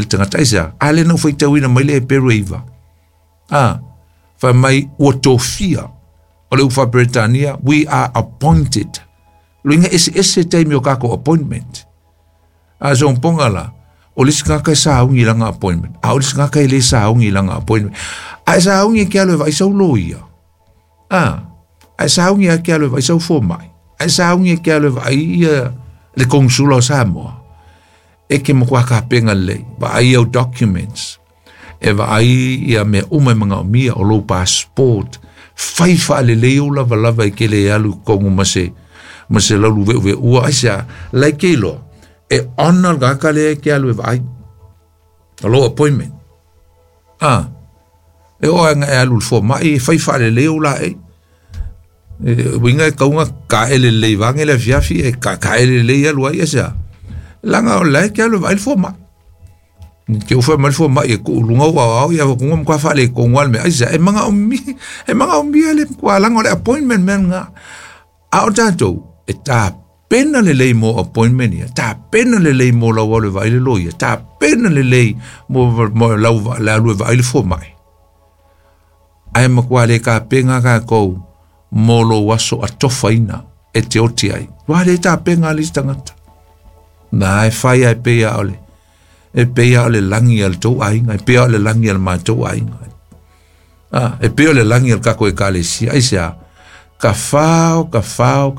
tagata. Aisea? A lea na ou faitauina mai le Heperu e 9. A, fai mai ua tofia. O le upu faa-Peretania, we are appointed. Luiga eseese taimi o kākou appointment. A sogopoga la, o le isi tagata e sauni i lana appointment, a o le isi tagata e le sauni i lana appointment. A e sauni e ke alu e vaai sau loia. A, a e sauni e ke alu e vaai sau fomai. A e sauni e ke alu e vaai ia le konsula o Samoa. E ke matua tapena lelei, vaai au documents, e vaai ia mea uma e manaomia, o lou passport, fai faalelei ou lavalava e ke le alu i totonu ma se ma se laulu veʻuveʻua. Aisea? La e ke iloa e honour le tagata lea e ke alu e vaai o lou appointment. A, e oo lava ina e alu i le fomai e fai faalelei ou laei. E uiga e tatau ona taele lelei vaeane le afiafi e taele lelei alu ai. Aisea? Leaga o la e te alu e vaai le fomai. Te u fai mai le fomai e tuu i luga ou aoao ia ua matua faaletonu lava le mea. Aisea? E manaomia, e manaomia le matua laga o le appointment mea lena. A o tatou, e tapena lelei mo appointment ia, tapena lelei mo lau alu e vaai le loia, tapena lelei mo, mo lau le alu e vaai le fomai. Ae matua le tapena tatou mo lou aso atofaina e te oti ai. Ua le tapena le isi tagata. Na e fai ai pei a o le e pei a o le lagi a le tou aiga, e pei a o le lagi a le matou aiga. A, e pei o le lagi a le tatou ekalesia. Aisea? Ka fao, ka fao, ka